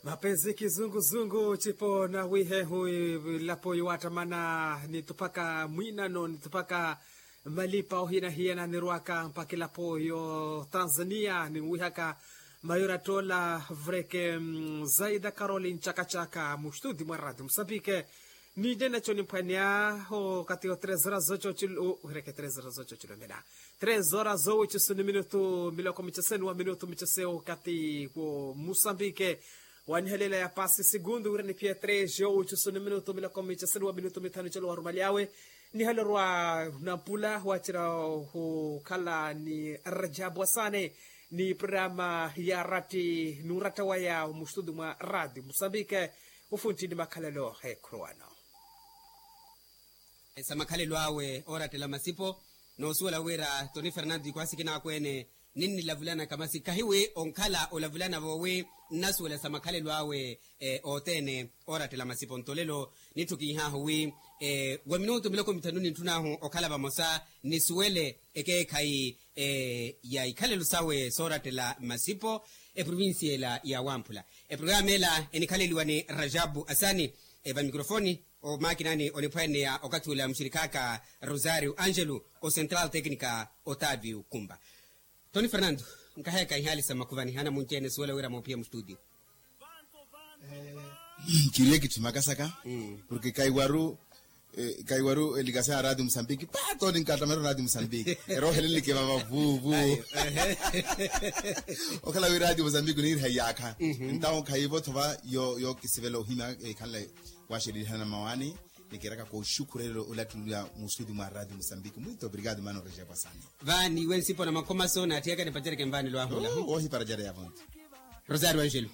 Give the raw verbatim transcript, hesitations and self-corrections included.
Mapenzi kizunguzungu cipo na wihehu. Ilapo yiwattamana nituphaka mwinano nituphaka malipa ohina hiyana nirwaka mpaka ilapo yo tanzania ninwihaka mayura tola vreke. Zaida karoli ncakacaka mustudi mwa radio musambike. Ninde naco nimphwaneya okati yo tres horas zoco cilo wireke tres horas zoco cilo mena. Tres horas zowicusu ni minutu miloko miceseni wa minutu micese okati wo musambike. Wanihelela ya pasi segundu wira niphiye tres yowicusu ni minutu miloko miceseni wa minutu mithanu celo warumali awe. Nihalorwa nampula wacira hukhala ni rajabu asane ni programa ya ratti nuratta waya mustudi mwa radio musambike. Ufunti ni makhalelo ekhurowano. Sa makhalelo awe orattela masipo noosuwela wira toni fernando ikhwasikina akweene. Ninnilavulanaka masi kahiwi onkhala olavulanavo wi nnasuwela sa makhalelo awe othene. Orattela masipo nto lelo nitthukinhahu wi wa minutu miloko mithanu nintthun'ahu okhala vamosa nisuwele ekeekhayi ya ikhalelo sawe soorattela masipo. Eprovincia ela ya wamphula eprograma ela enikhaleliwa ni rajabu asani. Vamikrofoni omakinani oniphwaneya okathi ula muxirikhaaka rosario angelo, ocentral tecnica otavio kumba. Toni fernando, nkaheeka ihaali sa mmakhuvani hana munci-ene suwela wira moophiya mustutio. Kiriye kitthimakasaka porke kaiwaru kaiwaru elikasa ya radio musambiki pato ninkattamera radio musambiki. Eroohelelike vava vuvu. Okhala wi radio musambiki oniiriha iyaakha. Entawo khayivo thova yo kisivela ohimya ekhanle. Waxelilihana mawani nikiraka koxukhurelelo olattulula musuti mwa radio musambiki muito obrigado mano reja kwasani. Vaani iwe nsipo na makhomaso naathiyaka nipacereke mvaani lwahula. Wohiparajareya vonto. Rosario angelo.